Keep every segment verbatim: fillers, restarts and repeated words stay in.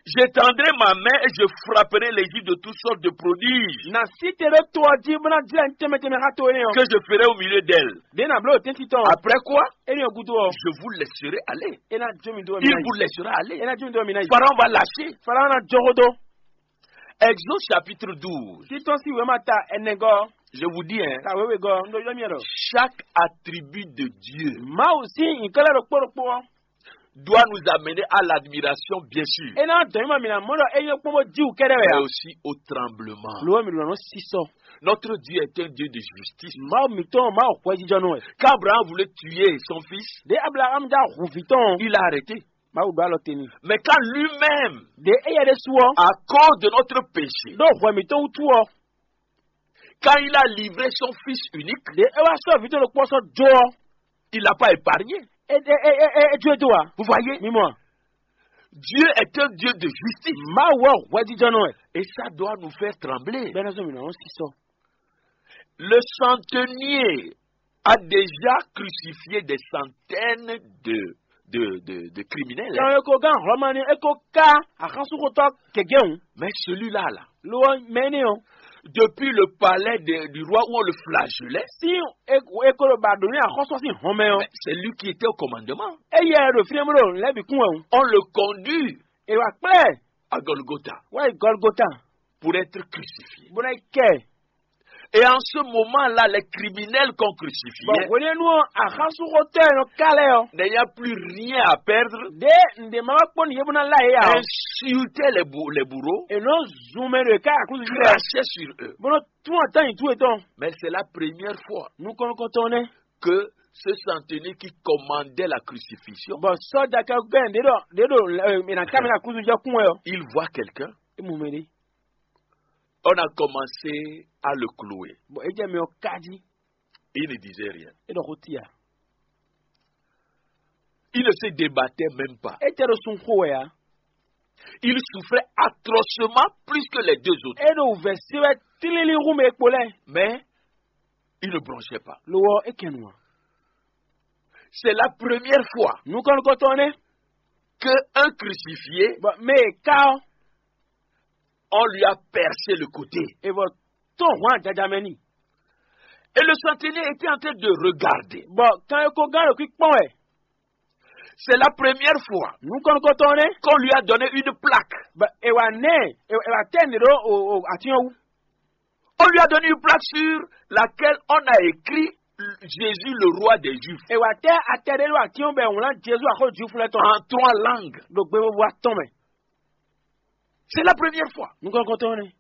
J'étendrai ma main et je frapperai l'Égypte de toutes sortes de prodiges Na sí te ɖó to ɔ́ jí bó ná jlɛ́ nǔ tɛnmɛ tɛnmɛ xá to énɛ́ ɔ́. Que je ferai au milieu d'elle. Ɖě ná bló ɖo tɛ́ntin tɔn ɔ́. Après quoi, Énɛ́ ɔ́ gúdo ɔ́, je vous laisserai aller. É ná jó mi dó ɔ́ mi Il ná vous yi. Laissera aller. É ná jó mi dó ɔ́ mi ná yi. Pharaon va lâcher. Faraon ná jɔ xó dó. Exode chapitre douze. Títɔn sín wěma ta ɛnɛgɔ́. Je vous dis, hein, Ta wěwegɔ́ un ɖo ylɔ́ mì ɖɔ. Chaque attribut de Dieu Mawu sín nyǐkɔ lɛ́ɛ ɖokpó ɖokpó ɔ́. Doit nous amener à l'admiration, bien sûr. É ná dɔn mì mɔ mǐ ná mɔ ɖɔ é nyɔ́ kpɔ́n bó jí wǔ kɛ́ɖɛ́ wɛ Mais ǎ. Aussi au tremblement. Lo ɔ́ mǐ ɖo nɔ sísɔ. Notre Dieu est un Dieu de justice. Mawu mǐtɔn Mawu hwɛjijɔnɔ wɛ. Quand Abraham voulait tuer son fils, Ɖě Ablaxámu já hu vǐ tɔn ɔ́, il a arrêté. Mawu ɖó alɔ te n'i. Mais quand lui-même, Ɖě éyɛ́ ɖésú ɔ́, à cause de notre péché, Ɖó hwɛ mǐtɔn wútu ɔ́, Quand il a livré son fils unique, Ɖě é wá sɔ́ vǐ tɔn ɖokpó ɔ́ sɔ́ jó ɔ́, Il n'a pas épargné. É é é é é é jó e dó ǎ. Vous voyez, Mi mɔ a? Dieu est un Dieu de justice. Mawu ɔ́ hwɛjijɔnɔ wɛ. Et ça doit nous faire trembler. Bɛ́ ná zɔn mǐ ná nɔ sísɔ. Le centenier a déjà crucifié des centaines de, de, de, de criminels, hein. Kan e ko gán Hlɔ̌ma ní é ko ká axánsúnxotɔ́ gěgé hǔn. Mais celui-là, là, Lo ɔ́ mɛ énɛ́ ɔ́, depuis le palais de, du roi où on le flagellait, Sín é é ko ɖo ba ɖǒ ní axɔ́sú ɔ́ sín hɔn mɛ ɔ́. Mais c'est lui qui était au commandement. Éyɛ́ ɖo fínɛ́ bó ɖo lɛ̌ bǐ kún wɛ hǔn. On le conduit É wá kplá ɛ à Golgotha wá yi Gɔlgota pour être crucifié. Bó ná yi kɛ ɛ. Et en ce moment-là, les criminels qu'on crucifiait, Bɔn hwenɛ́nu ɔ́, axánsúnxotɔ́ e nɔ ká lɛ́ɛ ɔ́, N'ayant plus rien à perdre, Ɖě nǔɖé ma wá kpɔ́n nǔ yě bó ná lá yě ǎ ɔ́, Insultaient les, bou- les bourreaux, È nɔ zun mɛ ɖo yě ká aklúzu jí lɛ́ɛ. Crachaient sur eux. Bó nɔ tún atán nyi tú yětɔn. Mais c'est la première fois Nukɔn nukɔntɔn nɛ́. Que ce centenier qui commandait la crucifixion Bɔn sɔ́ja kɛkɔ́ ɖě ɖɔ ɖě ɖo è nǎ ká mɛ ɖo aklúzu jí ɔ́ kún wɛ ɔ́. Il voit quelqu'un. É mɔ mɛ ɖé. On a commencé à le clouer. Bɔn é jɛ mɛ ɔ́ ká jí. Il ne disait rien. É ɖɔ xó ti ǎ. Il ne se débattait même pas. É tɛ ɖo sun xo wɛ ǎ. Il souffrait atrocement plus que les deux autres. É ɖo wǔvɛ́ se wɛ tlílí hú mɛ e kpo lɛ́ɛ. Mais il ne bronchait pas. Lo ɔ́ é kɛ nu ǎ. C'est la première fois Nukɔn nukɔntɔn nɛ́. Que un crucifié, Bɔn mɛ e ká ɔ́, On lui a percé le côté. E bɔ tɔn hwan jaja mɛ n'i. Et le centenier était en train de regarder. Bɔn kan e ko gán ɖo kpíkpɔ́n wɛ. C'est la première fois Nukɔn nukɔntɔn nɛ́. Qu'on lui a donné une plaque. Bɔn e wa nɛ e wa tɛ ne ɖo o o atyɔn wú. On lui a donné une plaque sur laquelle on a écrit Jésus, le roi des Juifs. E wa tɛ atɛ ɖe ɖo atyɔn bɛ wlán Jezu axɔ Jwifu lɛ tɔn. En trois langues. Ɖo gbe vovo atɔn mɛ. C'est la première fois. Nukɔn nukɔntɔn nɛ́.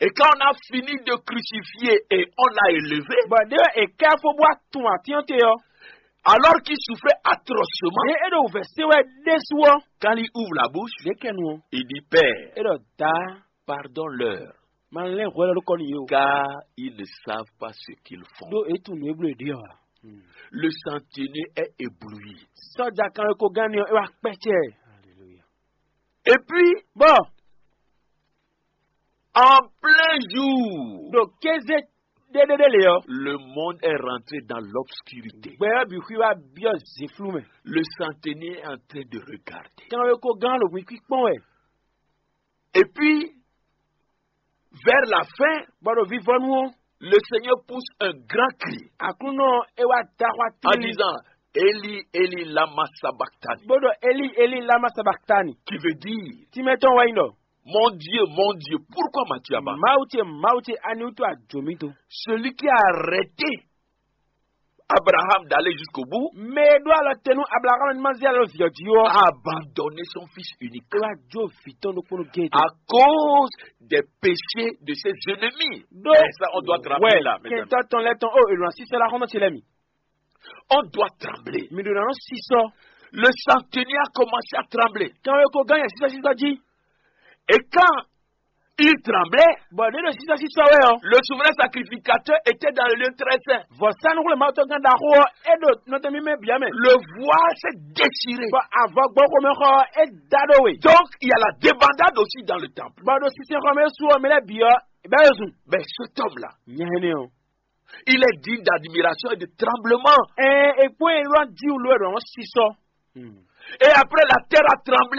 Et quand on a fini de crucifier et on l'a élevé, Bɔn ɖe e kɛ fo bó atun atyɔn te ɔ́. Alors qu'il souffrait atrocement, Ɖe e ɖo wǔvɛ́ se wɛ ɖésú ɔ́. Quand il ouvre la bouche, Ɖe kɛ nu ɔ́. Il dit, Père, E ɖɔ da. Pardonne-leur, Ma lɛn hwɛ lɔ ɖo kɔ n'i o. Car ils ne savent pas ce qu'ils font. Ɖó e tunwun nǔ e bló e ɖe ɔ́ ǎ. Le centenier est ébloui. Sɔ́ja kan e ko gán ni ɔ́, é wá kpɛ́ cɛ. Et puis, Bɔn en plein jour, ɖo kéze ɖéɖéɖé lě ɔ́, le monde est rentré dans l'obscurité. Gbɛ ɔ́ bǐ xwí wá byɔ́ zǐnflú mɛ. Le centenier est en train de regarder. Kan e ko gán ɖo hwǐ kpíkpɔ́n wɛ. Et puis, vers la fin, Bɔ ɖo vivɔnu ɔ́, le Seigneur pousse un grand cri Aklúnɔ é wá da xwá en tlí disant, Eli, Eli, lama sabachthani, bó ɖɔ Eli Eli lama sabaktani, qui veut dire, Tímɛtɔn wɛ nyí ɖɔ, Mon Dieu, mon Dieu, pourquoi m'as-tu abandonné? Mawu ce Mawu ce ani wútu a jǒ mì do? Celui qui a arrêté Abraham d'aller jusqu'au bout, Mɛ e ɖó alɔ te nú Ablaxámu ní ma zé alɔ vǐ ɔ́ jí ɔ́, a abandonné son fils unique é wá jó vǐ tɔn ɖokpónɔ géé do. À cause des péchés de ses ennemis. Ɖó Et ça, on doit trembler là, mesdames. Kɛntɔ́ tɔn lɛ́ɛ tɔn ó èlò asísɔ lá xɔ́ntɔn ce lɛ́ɛ mi. On doit trembler. Mi ɖo nǎ nɔ sísɔ. Le centenier a commencé à trembler. Kan e ko gán yɛ sísɔsísɔ jí. Et quand il tremblait, Bɔn ɖě ɖo sísɔsísɔ wɛ ɔ́, Le souverain sacrificateur était dans le lieu très saint. Vɔ̌sánúxwlémawutɔ́gán ɖaxó ɔ́, é ɖo nɔtɛn mímɛ́ bǐ ɔ́ mɛ. Le voile s'est déchiré. Bɔn avɔgbɔxomɛxɔ ɔ́, é da ɖó we. Donc, il y a la débandade aussi dans le temple. Bɔn ɖo sinsɛnxɔ mɛ sú ɔ́, mɛ lɛ́ɛ bǐ ɔ́, bɛ́ é zun. Mais cet homme-là, Nya énɛ́ ɔ́, il est digne d'admiration et de tremblement. Ɛɛ, è kpɔ́n ɛ lɔ jí wǔ ló ɛ ɖɔ wọ́n sísɔ. Et après, la terre a tremblé.